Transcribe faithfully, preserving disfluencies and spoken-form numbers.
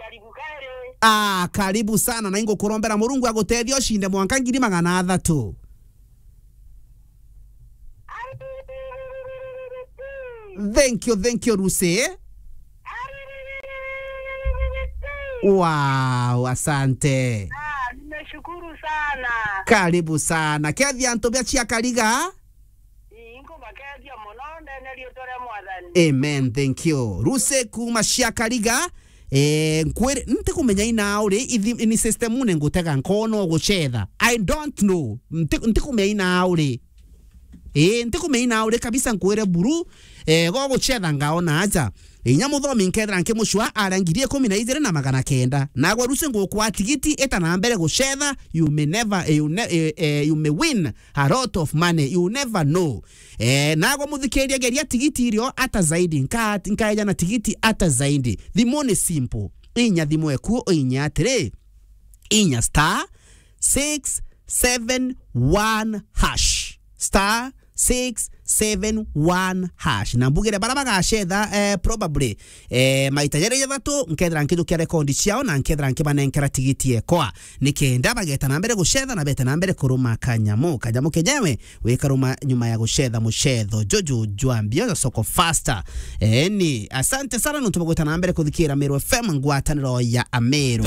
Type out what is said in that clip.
Karibu kairi. Ah, karibu sana, na ingukurombera Murungu agutethie ucinde mwanka ngiri magana athatu. Thank you, thank you, Lucy. Wow, asante. Ah, nimeshukuru sana. Karibu sana. Kethia antu bia cia Kariga. Ii, nkubakethia mono ndene riitwa ria Mwathani. Amen, thank you. Lucy kuma cia Kariga, eh, nkwire, ntikumenya ina uri, ithi-, ini system une ngutega nkono gucetha. I don't know. Nti-, ntikumenya ina uri. Ii, ntikumenya ina uri kabisa, nkwire buru, eh, go gucetha ngaona aja. Inya muthomi nkethira nkimucua aria ngiri ikumi na ijiri na magana kenda. Nagwe Lucy ngukwa tigiti, ita na mbere gucetha, you may never, eh, you ne-, eh, eh, you may win a lot of money, you never know. Eh, nagwe muthikiria geria tigiti irio ata zaidi, nka-, nkaeja na tigiti ata zaidi. Thimu ni simple. Inya thimu eku, inya atiri, inya star six seven one hash. Star six seven one hash. Na mbugire bara bagacetha, eh, probably, eh, maita jari jathatu, nkethira nkijukia rekondi ciao na nkethira nkibanenkera tigiti ekwa. Nikenda bageta na mbere gucetha na bete na mbere kuruma kanyamu. Kanyamu kenyewe wikaruma nyuma ya gucetha mucetho. Juju jwambia ja soko faster. Eni, asante sana nontu bwa gweta na mbere kuthikira Meru F M ngwataniro ya Ameru.